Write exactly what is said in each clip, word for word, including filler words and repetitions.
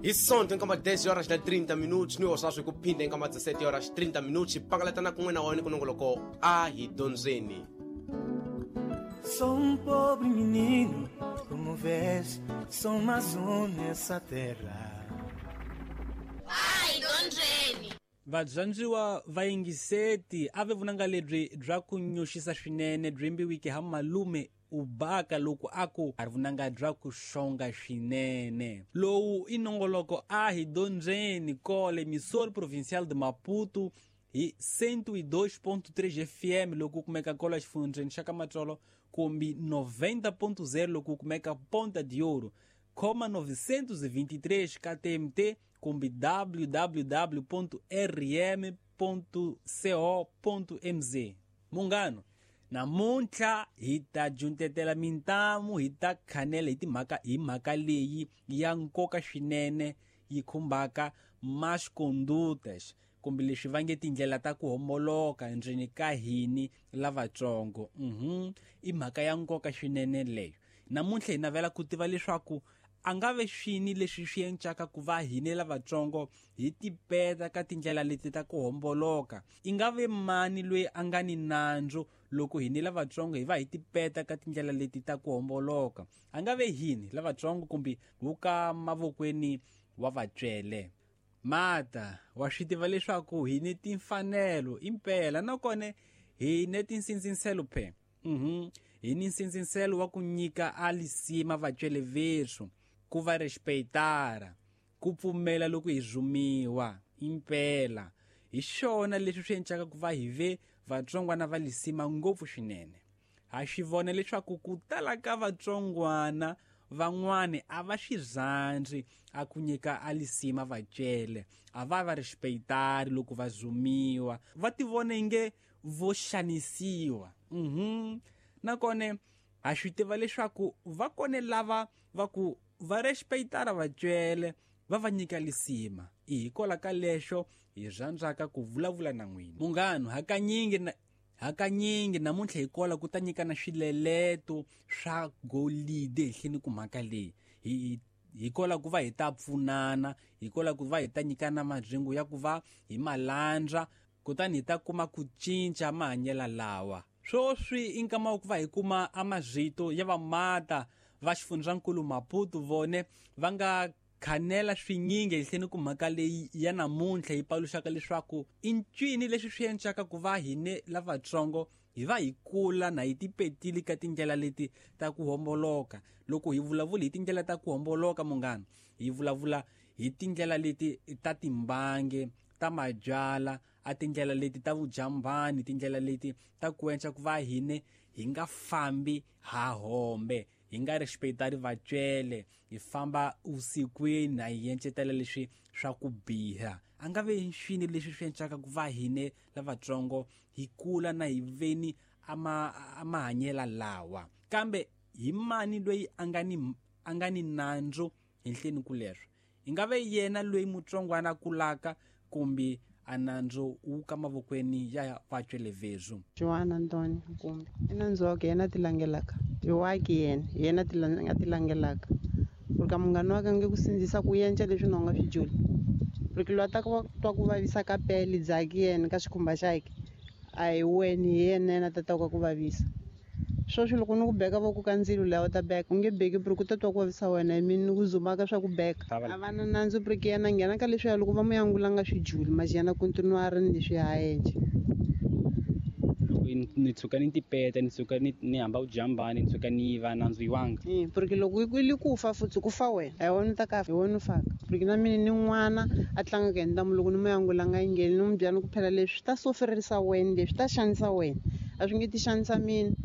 Hi Sonto nkama dez horas na trinta minutos ni osaswi ku phinda nkama dezessete horas trinta minutos pangalatana kun'we na wona kunongoloko a hi dyondzeni. Sou um pobre menino, como vês, sou mais um nessa terra. Ai, dyondzeni. Vadyondziwa va yingiseti a ve vunanga lebyi bya ku nyoxisa swinene byi yimbiwike ha malume Ubaka loko aku a ri vunanga bya ku xonga swinene. Lowu i nongoloko a hi dyondzeni kole Emissora Provincial de Maputo hi cento e dois ponto três F M loko kumeka kola xifundzheni xa ka Matsolo kumbe noventa ponto zero loko kumeka Ponta de Ouro, coma novecentos e vinte e três K T M T kumbe w w w ponto r m ponto co ponto m z. Mungano, namuntlha hi ta juntetela mintamu hi ta khanela hi timhaka hi mhaka leyi ya nkoka swinene yi khumbaka más condutas kumbe leswi va nge tindlela ta ku homboloka endzeni ka hini lavatsongo. Mhm, i mhaka ya nkoka swinene leyo. Namuntlha hi navela ku tiva leswaku a nga ve swini leswi swi encaka ku va hine lavatsongo hi tipeta ka tindlela leti ta ku homboloka. I nga ve mani loyi a nga ni nandzu loko hine lavatsongo hi va hi tipeta ka tindlela leti ta ku homboloka? A nga ve hini lavatsongo kumbe wu ka mavokweni wa vatswele? Mata wa swi tiva leswaku hi ni timfanelo impela nakona hi ne tinsindzinselo phe. Mhm, hi ni nsindzinselo wa ku nyika a lisima vatswele veswo, ku va respectara, ku pfumela loko hi zumiwa impela. Hi xona leswi swi encaka ku va hi ve vatsongwana va lisima ngopfu swinene. Ha swi vona leswaku ku tala ka vatsongwana van'wani a va swi rhandzi a ku nyika a lisima vatswele, a va va respectari loko va zumiwa, va ti vona inge vo xanisiwa. Mhm, nakona ha swi tiva leswaku va kone lava va ku va respectara vatswele va va nyika lisima. I hikwalaho ka leswo hi rhandzaka ku vulavula na n'wina munghano. Hakanyingi na hakanyingi namuntlha hi kola ku ta nyikana swileleto swa golide ehenhleni ku mhaka leyi. Hi hi kola ku va hi ta pfunana, hi kola ku va hi ta nyikana madzingo ya ku va hi malandza, kutani hi ta kuma ku cinca mahanyelo lawa. Swoswi i nkama wa ku va hi kuma a mazito ya vamata va xifundzankulu Maputo vone va nga khanela swinyingi ehenhleni ku mhaka leyi ya namuntlha yi paluxaka leswaku i ncini leswi swi encaka ku va hine lavatsongo hi va hi kula na hi tipetile ka tindlela leti ta ku homboloka. Loko hi vulavula hi tindlela ta ku homboloka munghana, hi vulavula hi tindlela leti ta timbange, ta mabyala, a tindlela leti ta vujambani, tindlela leti ta ku enca ku va hine hi nga fambi ha hombe, hi nga respectari vatswele, hi famba usikwini na hi encetela leswi swa ku biha. A nga ve swini leswi swi encaka ku va hine lavatsongo hi kula na hi veni ama amahanyela lawa. Kambe hi mani loyi a nga ni a nga ni nandzu henhleni ku leswo? I nga ve yena loyi mutsongwana kulaka kumbe a nandzu wu ka mavokweni ya vatswele vezu? Joana Antônio kumbe i nandzu wa yena tilangelaka i waki yena yena tilanga tilangelaka porque munghana wa ka nge ku sindzisa ku yenca leswi na u nga swi juli, porque lwa ta ku twa ku vavisa ka pele dzaki yena ka xikhumba xakhe a hi wena hi yena yena tata ka ku vavisa. Swoswi loko ni ku beka voko ka ndzilo laha u ta beka u nge beki porque u ta twa ku vavisa wena hi mina ni ku zumaka swa ku beka. A va na nandzu porque yena nghena ka leswiya loko va mu yangula nga swi juli manje yena continue a ri ni leswi ha endla. Loko ni tshuka ni tipeta, ni tshuka ni ni hamba vujambani, ni tshuka ni yiva nandzu yiwanga. Eh, porque loko ku li ku fa futhi ku fa wena, a hi wena u ta ka hi wena u faka. Porque na mina ni n'wana a tlangaka hi ntamu loko ni mu yangula nga yingeni ni mu byela ni ku phela leswi ta soferisa wena, leswi ta xanisa wena, a swi nge ti xanisa mina.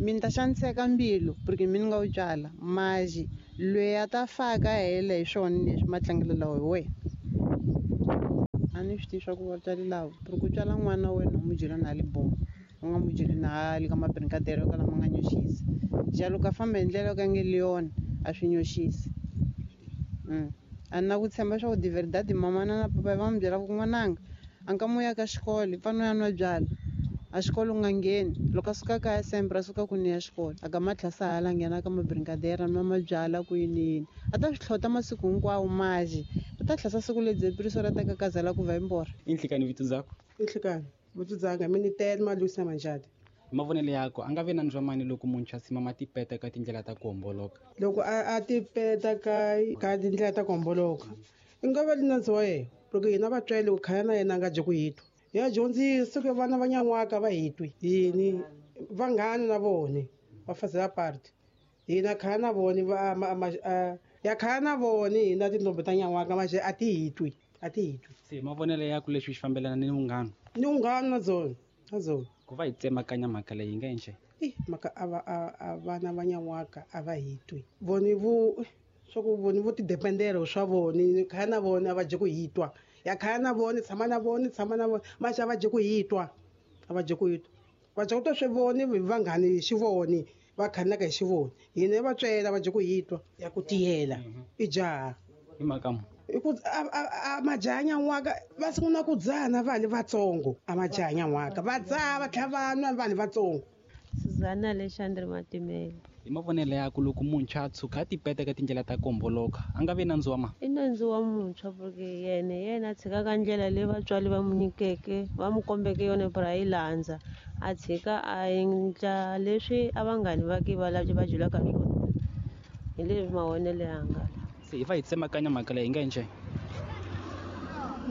Mina ta xaniseka mbilu porque mina nga wu byala maji loyi a ta faka hela hi swona leswi matlangelo lawa hi wena. A ni swi tivi swa ku vatswari lava porque u tswala n'wana wa wena u n'wi byela na le bomo, u nga n'wi byeli na le ka mabrigadere yo kala ma nga nyoxisi. Jalo ka famba hi ndlela yo ka nge le yona a swi nyoxisi. A ni na ku tshemba swa ku de verdade mamana na papa va n'wi byela ku n'wananga a nka mu ya ka xikolo i fanele u ya nwa byala. A xikolo u nga ngheni loko a suka kaya sempre a suka ku ni ya xikolo a ka matlhasa hala nghena ka mabrinkadera nwa mabyala ku yini yini a ta swi tlhota masiku hinkwawo maji u ta tlhasa siku lebyi piriso ra ta kakazela ku va imbora. Inhlikani vito dzako? Inhlikani vito dzanga mina tele malusa manjani. Mavonelo yako a nga vi nandzu wa mani loko muntshwa a simama tipeta ka tindlela ta ku homboloka? Loko a a tipeta ka ka tindlela ta ku homboloka i nga va nandzu wa yena loko hina vatswari loko khaya na yena a nga dyi ku hitwa ya dyondzisa ku vana va nyan'waka va hitwi yini vanghana na vona va fazela party hina khaya na vona va ya khaya na vona hina tintombi ta nyan'waka maxe a ti hitwi a ti hitwi. Se mavonelo yako leswi swi fambelana ni vunghana? Ni vunghana na byona na byona. Ku va hi tsemakanya mhaka leyi hi nga endle i mhaka a va a vana va nyan'waka a va hitwi voni vo swa ku voni vo tidependela swa voni khaya na vona a va dyi ku hitwa ya khaya na vona tshama na vona tshama na vona maxe a va dyi ku hitwa a va dyi ku hitwa va dya ku twa swi voni vanghani hi xivoni va khanaka hi xivoni hina va tswela va dyi ku hitwa ya ku tiyela i jaha hi mhaka mu i ku a majaha nyan'waka va sungula ku dzaha na vanhu vatsongo a majaha nyan'waka va dzaha va tlhela va nwa vanhu vatsongo. Suzana Alexandre Matimele. Hi mavonelo yako loko muntshwa a tshuka a tipeta ka tindlela ta ku homboloka a nga vi nandzu wa ma? I nandzu wa muntshwa porque yena yena a tshikaka ndlela leyi vatswari va n'wi nyikeke va n'wi kombeke yona ku a yi landza a tshika a endla leswi a vanghani va ke va va byelaka swona hi leswi mavonelo yanga. Se hi va hi tsemakanya mhaka leyi hi nga endle?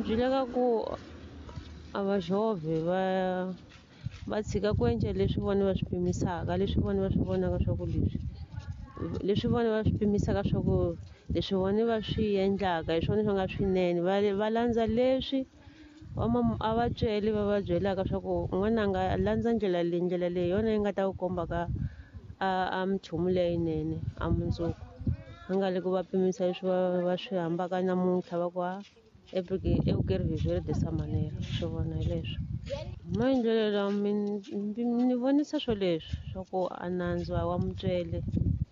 Byi lava ku a va jovhe va va tshika ku endla leswi vona va swi pimisaka leswi vona va swi vonaka swa ku leswi leswi vona va swi pimisaka swa ku leswi vona va swi endlaka hi swona swi nga swinene va va landza leswi va a va tsweli va va byelaka swa ku n'wananga landza ndlela leyi ndlela leyi yona yi nga ta ku komba ka a a minchumu leyinene a mundzuku a nga le ku va pimisa leswi va va swi hambaka namuntlha va ku a é porque eu quero viver dessa maneira swi vona hi leswi maendlelo lawa ni vonisa swo leswi swa ku a nandzu a wa mutswele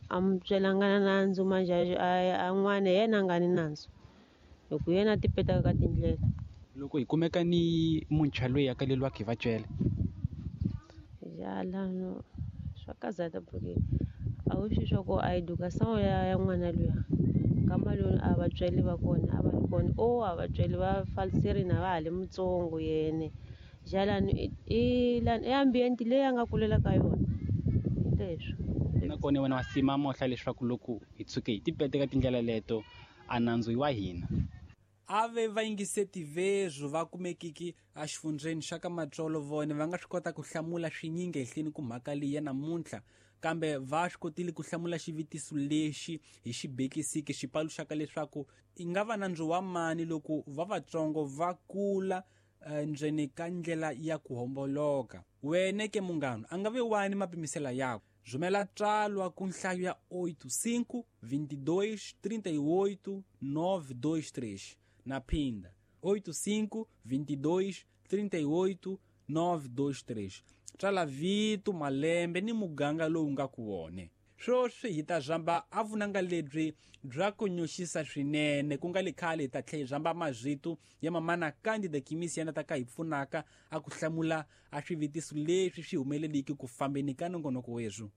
a mutswele a nga na nandzu manjhe a n'wana hi yena a nga ni nandzu hi ku yena a tipetaka ka tindlela. Loko hi kumeka ni muntshwa loyi a kaleliwaka hi vatswele ya lano swa kazata porque a wu swi swa ku a educação ya ya n'wana luya nkama loyi a vatswari va kona a va ri kona o a vatswari va faliserini a va ha ri mutsongo yene jalani i lani i ambiente leyi a nga kulela ka yona hi leswo. Nakona wena wa sima mohla leswaku loko hi tshuke hi tipete ka tindlela leto a nandzu wa hina. Ave va yingiseti vezwo va kumekiki exifundzheni xa ka Matsolo vona va nga swi kota ku hlamula swinyingi ehenhleni ku mhaka leyi ya namuntlha kambe va swi kotile ku hlamula xivutiso lexi hi xi bekisiki xi paluxaka leswaku i nga va nandzu wa mani loko va vatsongo va kula ndzeni ka ndlela ya ku homboloka. Wena ke munghana a nga ve wani mapimisela yako rhumela tsalwa ku nhlayo ya oito cinco vinte e dois trinta e oito nove dois três na phinda oito cinco vinte e dois trinta e oito nove dois três tsala vito malembe ni muganga lowu nga ku wone. Sweswi hi ta zamba a vunanga lebyi bya ku nyoxisa swinene ku nga le khale hi ta tlhela hi zamba mazito ya mamana Candida Kimisi yana ta ka hi pfunaka a ku hlamula a swivutiso leswi swi humeleliki ku fambeni ka nongonoko wethu.